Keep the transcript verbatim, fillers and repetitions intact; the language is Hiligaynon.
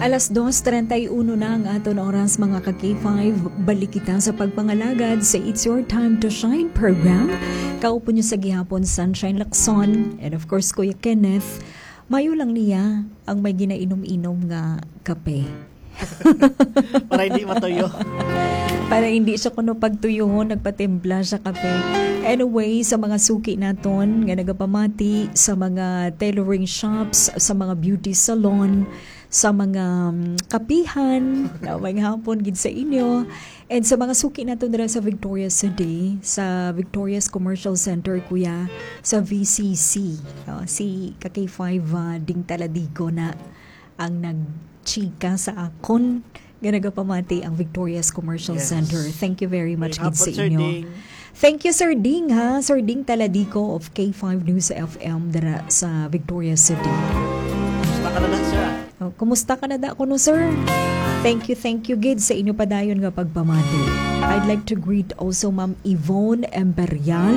Alas dos treinta y uno na ang aton oras, mga ka K five. Balik kita sa pagpangalagad sa It's Your Time to Shine program. Kaupo niyo sa gihapon, Sunshine Lacson, and of course, Kuya Kenneth. Mayo lang niya ang may ginainom-inom nga kape. Para hindi matuyo. Para hindi siya kuno pagtuyuhon, nagpatimpla siya kape. Anyway, sa mga suki naton nga nagapamati sa mga tailoring shops, sa mga beauty salon, sa mga, um, kapihan, na may hapon gid sa inyo. And sa mga suki naton dira sa Victorias City, sa Victorias Commercial Center, kuya, sa V C C, oh, si ka K five, ah, Ding Taladigo na ang nagchika sa akon nga nagapamati ang Victorias Commercial Yes. Center. Thank you very much May gid sa hapon, Sir inyo. Ding. Thank you, Sir Ding, ha? Sir Ding Taladico of K five News F M dira sa Victorias City. Basta ka na lang, sir, ah. Oh, kumusta ka na da kuno, sir? Thank you, thank you gid sa inyo padayon nga pagpamati. I'd like to greet also Ma'am Yvonne Imperial.